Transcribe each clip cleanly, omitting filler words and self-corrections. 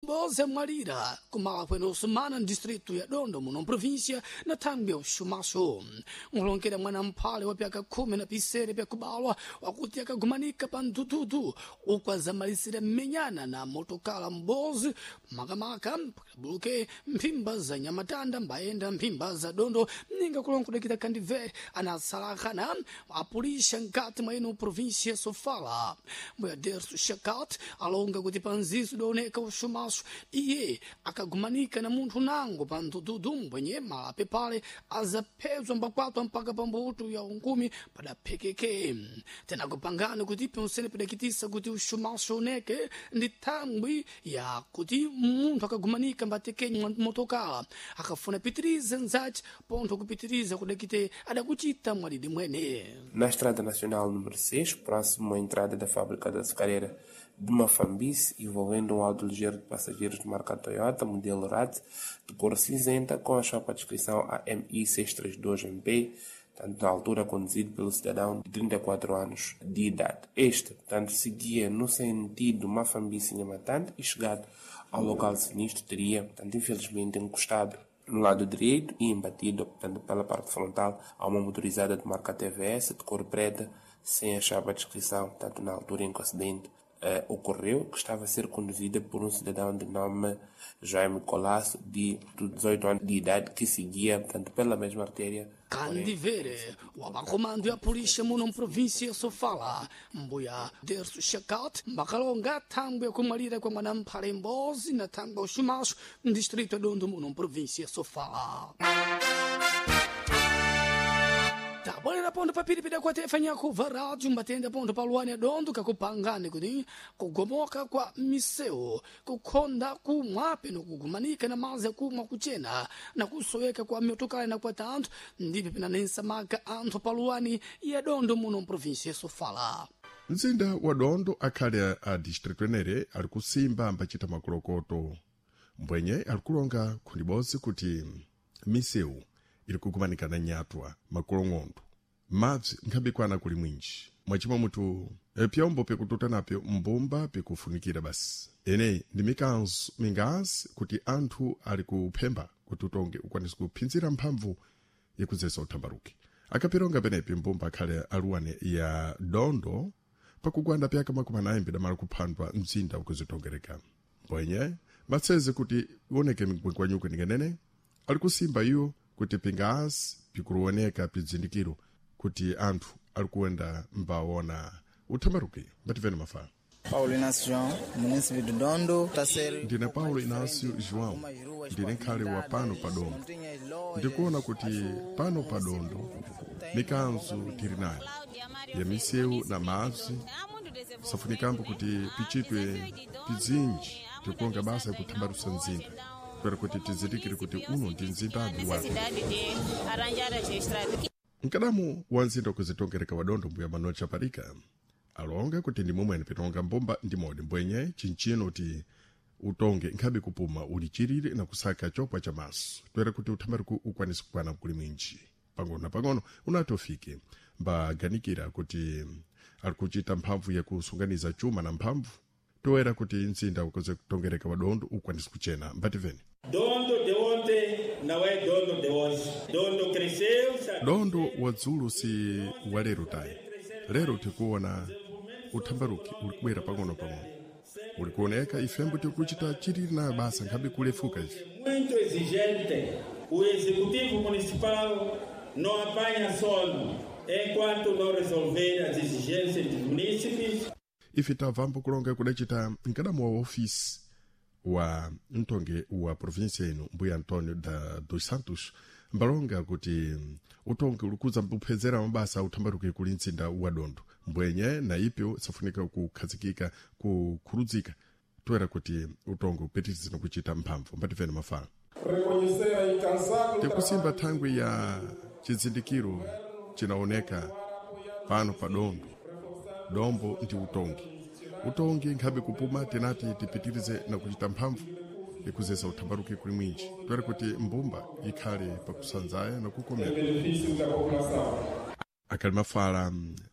Mboze mwalira kumala kwene usumana ndistritu ya Dondo muno mprovinsia na thangwi ya uxumaxo. Nkulongera mwana mphale wa pyaka 10 na pisere pyakubalwa wakuti akagumanika pa mdududu uku azamalisira mmenyana na motokala mbozi makamaka buluke mphimba za nyamatanda mbayenda mphimba za Dondo ninga kulongodekita kandivere anasalakhana apulisha nkati mwa ino provinsia Sofala. Mbuya Derso Shakat alonga kuti panzizo daoneka uxumaxo iye akagumanika na munthu nango pa mdududu mbwenye malape pale azaphezwa mbakwatwa mpaka pambuto ya unkumi padaphekeke. Tena kupangana kuti pensene padakitisa kuti uxumaxo uneke ndi thangwi ya kuti munthu akagumanika mbatekenyi motokala akafuna pitiriza nzace pontho kupitiriza kudakite adakuchita mwalidi mwene. Na Estrada Nacional número 6, próximo à entrada da fábrica da açucareira de Mafambice, envolvendo um auto ligeiro de passageiros de marca Toyota, modelo RAT, de cor cinzenta, com a chapa de inscrição AMI 632MP, tanto na altura conduzido pelo cidadão de 34 anos de idade. Este, portanto, seguia no sentido Mafambice-Nhamatanda e, chegado ao local sinistro, teria, portanto, infelizmente encostado no lado direito e embatido, portanto, pela parte frontal a uma motorizada de marca TVS de cor preta, sem a chapa de inscrição, tanto na altura em que o acidente ocorreu, que estava a ser conduzida por um cidadão de nome Jaime Colasso, de 18 anos de idade, que seguia, portanto, pela mesma artéria. Kandivere wa makomando ya polícia muno mprovinsia Sofala mbuya Derso Shakat mbakalonga thangwi yakumwalira kwa mwana mphale mbozi na thangwi ya uxumaxo mdistrito ya Dondo muno mprovinsia Sofala. Tabwera pondo papiri pidakuatefa nyakuva rádio mbatenda pondo paluani ya Dondo kakupangani kuti kugomoka kwa miseu kukhonda kumwa peno kugumanika na mazi akumwa kuchena na kusoweka kwa miotokala na kwa tanthu ndipo pinanensa maka anthu paluani ya Dondo muno mprovinsia Sofala. Mzinda wa Dondo akhale a distritu enere ali kusimba ambacita makolokoto mbwenye ali kulonga khundibodzi kuti misewu ili kugumanika na nyatwa makolong'ondo mabzi nkhabikwana kuli mwinji mwachimwa mutu pyombo pikututa napyo mbumba pikufunikira basi eneyi ndi mikanzo mingazi kuti anthu ali kuphemba kuti utonge ukwanise kuphinzira mphamvu yakudzesa uthambaruki akapironga penepi mbumba akhale aluwane ya Dondo pakugwanda pyaka 40 pidamala kuphandwa mzinda ukuzitongereka mbwenye matseze kuti ioneke migwengwanyuko ningenene ali kusimba iwo kuti pingazi pikuruoneka pizindikiro kuti anthu ali kuenda mbaona uthambaruki mbativene mafala. Paulo Inácio João, munícipe de Dondo, tá ser Ndine Paulo Inácio João, ndine nkhale wa pano pa Dondo. Ndikuona kuti pano pa Dondo mikanzo tili nayo ya misewu na madzi safunikambo kuti pichitwe pizinji tikuonga basa yakuthambarusa mzinda kwera kuti tizindikire kuti uno ndi mzindadi wake. Mkadamu wa mzinda wakuzitongereka wa Dondo mbuya Manuel Chaparika alonga kuti ndi momwene pitonga mbumba ndi modi mbwenye chinchino ti utonge nkhabe kupuma ulichirire na kusaka chopwa cha maso toera kuti uthambaruku ukwanise kukwana kuli mwinji pang'ono na pang'ono unati ufike mbaganikira kuti ali kuchita mphamvu yakusunganiza chuma na mphamvu toera kuti mzinda wakuze kutongereka wa Dondo ukwanise kuchena mbativene. Dondo de ontem não é dono de hoje. Dondo cresceu, sabe? Dondo wa dzulo si wa lero tayi. Lero tikuona uthambaruki uli kubwera pang'ono-pang'ono uli kuoneka ifembo tikuchita chilili nayo basa nkhabe kulefuka ife. Muito exigente. O executivo municipal não apanha sono enquanto não resolver as exigências dos munícipes. Ife tamvambo kulonga kudacita mkadamu wa ofisi wa mtonge wa provinsia ino mbuya Antonio da dos Santos mbalonga kuti utonge ulikuza mbuphezera mabasa uthambaruke kuli mzinda wa Dondo mbwenye na ipyo safunika kukhazikika kukhurudzika toera kuti utonge upitirize kuchita mphamvu mbativene mafala. Reconhecer a incansável Tikusimba thangwi ya chizindikiro chinaoneka pano pa Dondo. Dombo ndi utongi. Utongi nkhabe kupuma tinati tipitirize na kuchita mphamvu ikuzesa uthambaruki kuli mwinji toera kuti mbumba ikhale pakusanzaya na kukomera. Benefício da população. Akhali mafala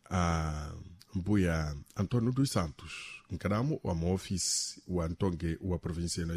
a mbuya Antonio dos Santos mkadamu wa muofisi wa mtonge wa provinsia ino.